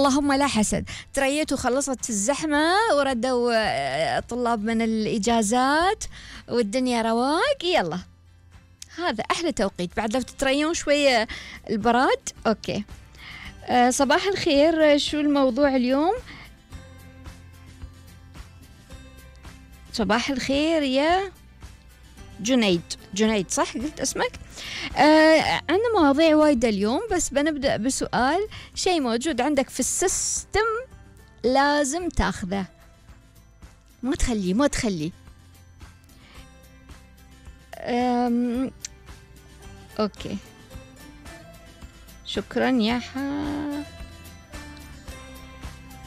اللهم لا حسد، تريت وخلصت الزحمة وردوا طلاب من الإجازات والدنيا رواق، يلا هذا أحلى توقيت. بعد لو تتريون شوية البراد. أوكي. صباح الخير، شو الموضوع اليوم؟ صباح الخير يا جنيد صح قلت اسمك؟ عندنا مواضيع وايدة اليوم، بس بنبدأ بسؤال. شيء موجود عندك في السيستم لازم تاخذه، ما تخليه. اوكي شكرا يا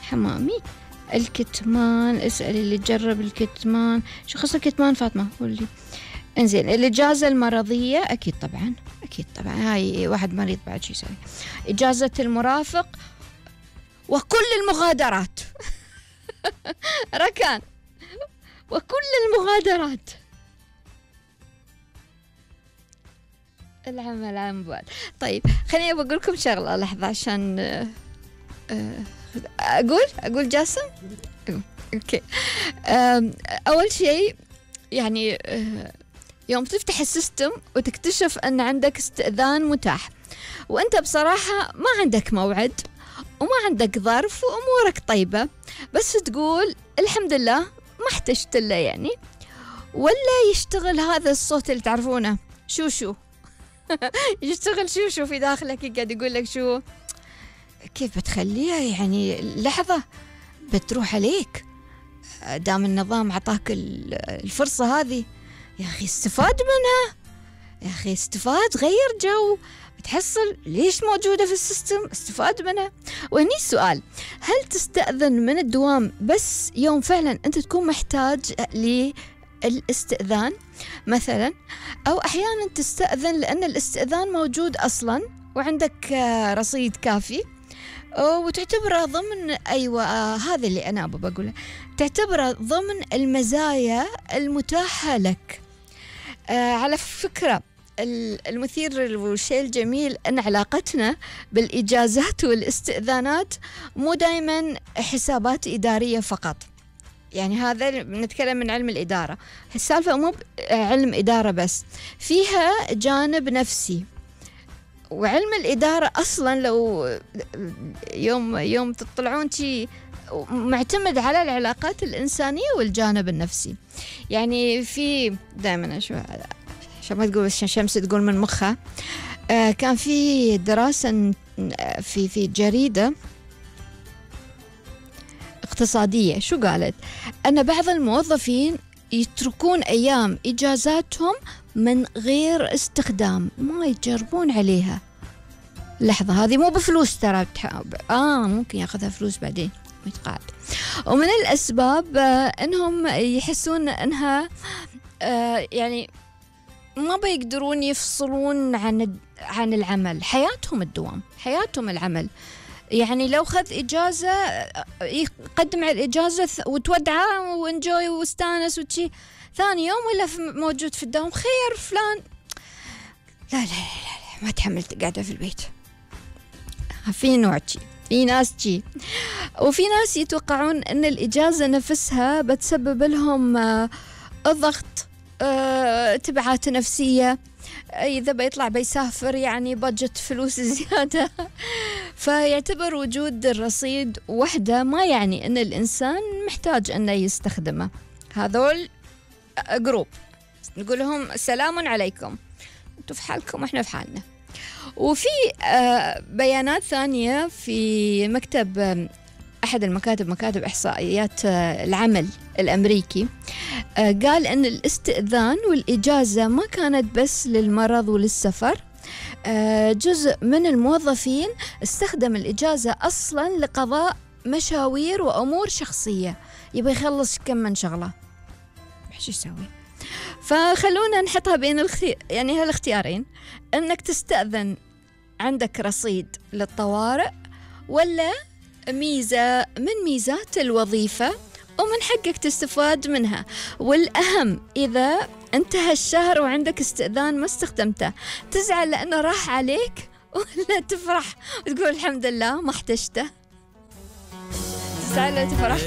حمامي. الكتمان، اسأل اللي جرب الكتمان. شو خص الكتمان فاطمة قولي. انزين، الإجازة المرضية أكيد طبعا هاي واحد مريض بعد شو يسوي. إجازة المرافق وكل المغادرات ركان وكل المغادرات. العمل عن بعد. طيب خليني بقول لكم شغلة لحظة عشان أقول جاسم. أوكي. أول شيء يعني يوم تفتح السيستم وتكتشف أن عندك استئذان متاح، وأنت بصراحة ما عندك موعد وما عندك ظرف وأمورك طيبة، بس تقول الحمد لله ما احتجت له يعني، ولا يشتغل هذا الصوت اللي تعرفونه شو يشتغل شو في داخلك قاعد يقول لك شو كيف بتخليها يعني لحظة بتروح عليك دام النظام عطاك الفرصة هذه. يا أخي استفاد منها، يا أخي استفاد، غير جو، بتحصل ليش موجودة في السيستم، استفاد منها. وهني السؤال، هل تستأذن من الدوام بس يوم فعلا أنت تكون محتاج للاستئذان مثلا، أو أحيانا تستأذن لأن الاستئذان موجود أصلا وعندك رصيد كافي وتعتبره ضمن هذا اللي أنا بقوله، تعتبره ضمن المزايا المتاحة لك. على فكرة المثير والشيء الجميل أن علاقتنا بالإجازات والاستئذانات مو دايما حسابات إدارية فقط، يعني هذا نتكلم من علم الإدارة، السالفة مو علم إدارة بس، فيها جانب نفسي. وعلم الإدارة أصلا لو يوم تطلعون شيء معتمد على العلاقات الإنسانية والجانب النفسي. يعني في دائما عشان ما تقول شمس تقول من مخها، كان في دراسة في جريدة اقتصادية، شو قالت؟ أن بعض الموظفين يتركون أيام إجازاتهم من غير استخدام، ما يجربون عليها. لحظة، هذه مو بفلوس ترى، ممكن ياخذها فلوس بعدين ويتقاعد. ومن الأسباب أنهم يحسون أنها يعني ما بيقدرون يفصلون عن العمل، حياتهم الدوام، حياتهم العمل. يعني لو خذ إجازة يقدم على الإجازة وتودعه وانجوي واستانس وشي، ثاني يوم ولا موجود في الدوام، خير فلان لا ما تحملت قاعدة في البيت. في نوع شي، في ناس شي، وفي ناس يتوقعون أن الإجازة نفسها بتسبب لهم الضغط، تبعات نفسية، إذا بيطلع بيسافر يعني بادجت فلوس زيادة. فيعتبر وجود الرصيد وحده ما يعني أن الإنسان محتاج أنه يستخدمه. هذول جروب نقول لهم سلام عليكم، أنتوا في حالكم وإحنا في حالنا. وفي بيانات ثانية في أحد مكاتب إحصائيات العمل الأمريكي، قال أن الاستئذان والإجازة ما كانت بس للمرض وللسفر، جزء من الموظفين استخدم الإجازة أصلا لقضاء مشاوير وأمور شخصية، يبغى يخلص كم من شغلة، شو يسوي؟ فخلونا نحطها بين يعني هالاختيارين، أنك تستأذن عندك رصيد للطوارئ، ولا ميزة من ميزات الوظيفة ومن حقك تستفاد منها. والأهم إذا انتهى الشهر وعندك استئذان ما استخدمته، تزعل لأنه راح عليك، ولا تفرح وتقول الحمد لله ما احتجته؟ تسأل لا تفرح.